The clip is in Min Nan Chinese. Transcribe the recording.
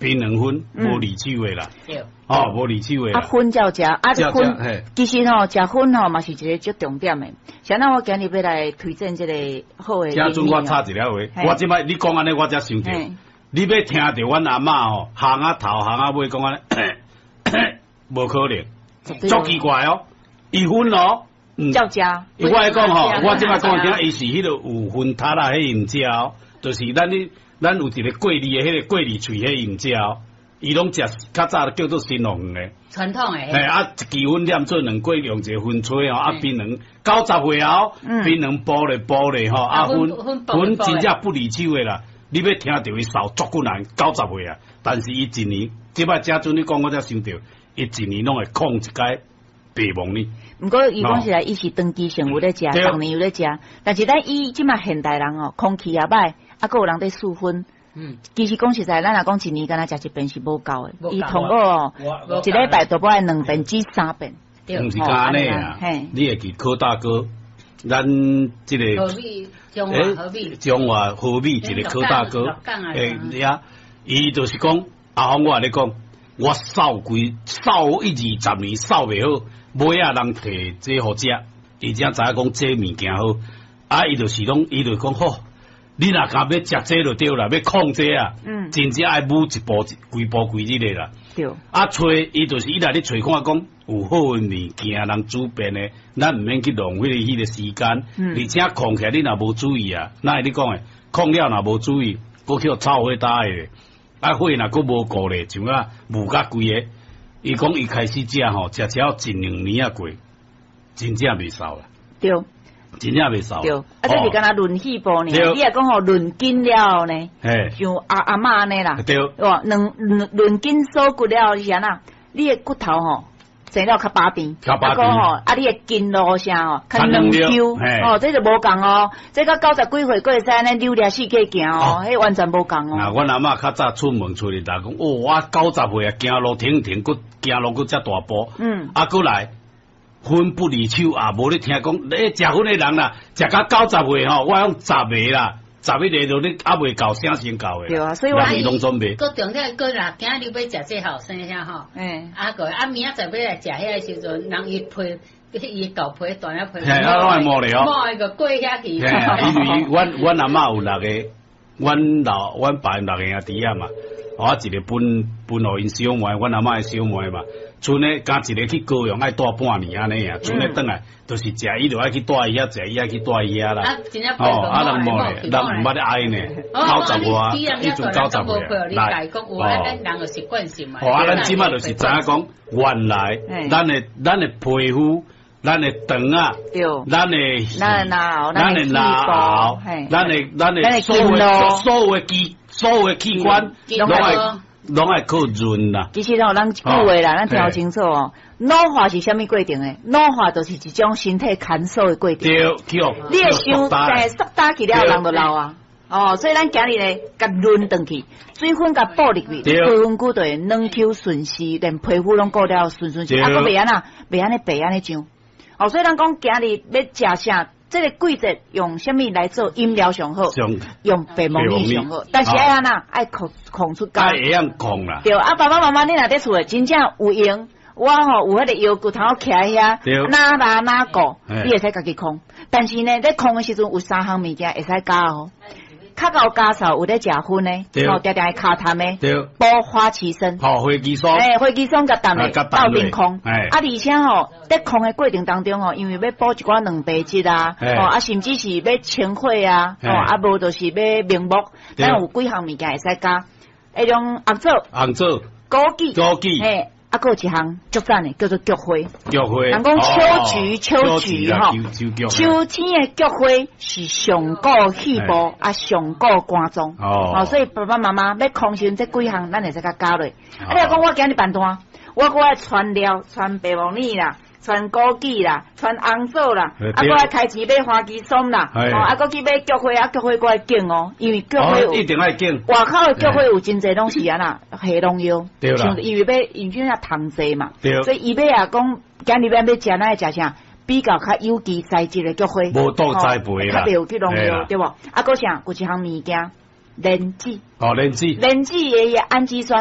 檳榔粉無離手的啦，哦，無離手的。啊，粉照食，啊，粉其實吼，食粉吼嘛是一个足重點的。像那我今日欲來推薦這个好的。這陣我插一个話，我這擺你講按呢，我才想著，你欲聽著阮阿嬤吼，行啊頭行啊尾講按呢，無可能，足奇怪哦，伊粉哦，照食。我來講吼，我這擺講聽，伊是彼个有薰塔仔，彼毋食哦，就是咱咧。咱有一个過濾的彼个過濾喙，彼毋食哦，伊攏食較早叫做新樂園的傳統的。嘿，啊，一支粉念做兩過，用一个薰吹哦，啊，檳榔90歲哦，檳榔剝咧剝咧吼，啊，粉粉真正不離手的啦。你欲聽著伊嗽足困難，九十歲啊，但是伊一年，這擺這陣你講我才想著，伊一年攏會控一擺白木耳。毋過伊講實在，伊是長期性有咧食，逐年有咧食。但是咱以這馬現代人哦，空氣也歹，啊，閣有人佇輸薰。其實講實在，咱若講一年敢若食一遍是無夠的。伊通過哦，一禮拜都愛兩遍至三遍。毋是按呢啊？你會記柯大哥，咱這个和美，中華和美，中華和美一个柯大哥，欸，呀，伊就是講阿峰，我共你講，我瘦規瘦一二十年瘦袂好，尾仔人提這予食，而且知影講這物件好，啊，伊就是攏，伊就講好，你若敢欲食這就對啦，欲控這啊，真正愛舞一步幾步幾日的啦。啊，揣伊就是伊來咧揣看講有好的物件，人煮便的，咱毋免去浪費彼个時間。而且控起來，你若無注意啊，哪會你講的？控了若無注意，閣去予臭火焦的，啊火若閣無顧咧，像啊霧甲規个。伊講伊開始食吼，食了一兩年仔過，真正袂瘦啦。真正袂瘦。對，啊，這是敢若潤肺部爾，你若講吼潤筋了後呢？像阿阿嬤按呢啦。哇，兩潤筋鎖骨了後是按怎？你的骨頭吼生了較飽甜，較飽甜吼，啊，你的筋路啥吼較軟 Q，哦，這就無仝哦，這到九十幾歲閣會使按呢扭掠四界行哦，彼完全無仝哦。啊，阮阿嬤較早出門出去，逐講哦，我九十歲啊，行路停停，閣行路閣遮大步。啊，閣來。粉不離手啊！無你聽講，欸，食粉的人啦，食到九十歲吼，我講十个啦，11个都你猶未到啥先到的。對啊，所以我攏總袂。閣重點，閣若今日欲食這後生遐吼，啊閣啊明仔載欲來食遐个時陣，人伊皮，伊舊皮斷了皮，嘿，啊攏會摸咧哦，摸個過遐去。因為阮阮阿嬤有六个，阮老阮爸𪜶六个兄弟仔嘛，我一個分分予𪜶小妹，阮阿嬤的小妹嘛。賰呢，敢一个去高雄愛蹛半年按呢啊，賰呢轉來，就是食伊就愛去蹛伊遐，食伊愛去蹛伊遐啦。哦，啊人無咧，人毋捌咧愛呢，九十外，彼陣九十歲來。哦，哦，啊，咱這擺就是知影講，原來咱的咱的皮膚、咱的腸仔、咱的咱的腦、咱的腦，咱的咱的所有所有的機所有的器官，攏愛。攏愛靠潤啦。其實吼，咱一句話啦，咱聽清楚哦。老化是啥物過程的？老化就是一種身體牽鎖的過程。對，你會傷，欸，速打去了，人就老啊。哦，所以咱今日咧，共潤轉去，水分共補入去，皮膚骨就會軟 Q 順絲，連皮膚攏顧了順順絲，啊，閣袂按怎，袂按呢白按呢上。哦，所以咱講今日欲食啥？這个季節用啥物來做飲料上好？用白木耳上好，但是愛按怎？愛控控出價。愛會曉控啦。對，啊，爸爸媽媽，你若佇厝的真正有閒，我吼有彼个腰骨頭徛遐，哪拉哪顧，你會使家己控。但是呢，咧控的時陣有三項物件會使加哦。較𠢕加數有咧食薰的，吼，定定會尻痰的，補花旗參，吼，花旗參，欸，花旗參佮淡的鬥陣控，啊，而且吼，佇控的過程當中吼，因為欲補一寡蛋白質啊，吼，啊，甚至是欲清火啊，吼，啊，無就是欲明目，咱有幾項物件會使加，彼種紅棗，紅棗，枸杞，枸杞，嘿。啊，閣有一項足讚的，叫做菊花。菊花，人講秋菊，秋菊吼，秋天的菊花是上顧肺部，啊，上顧肝臟。哦，所以爸爸媽媽欲控時陣，這幾項咱會使共加落。啊，你若講我今日辦單，我閣愛汆料，汆白木耳啦，汆枸杞啦，汆紅棗啦，啊，閣愛開錢買花旗參啦，哦，啊，閣去買菊花，啊，菊花閣愛揀哦，因為菊花有一定愛揀。外口的菊花有真濟攏是按怎下農藥，對啦，因為欲因為那蟲濟嘛，所以伊欲啊講，今日欲欲食，咱愛食啥？比較較有機栽植的菊花，無毒栽培啦，較袂有去農藥，對無？啊，閣啥？有一項物件，蓮子。哦，蓮子。蓮子的氨基酸。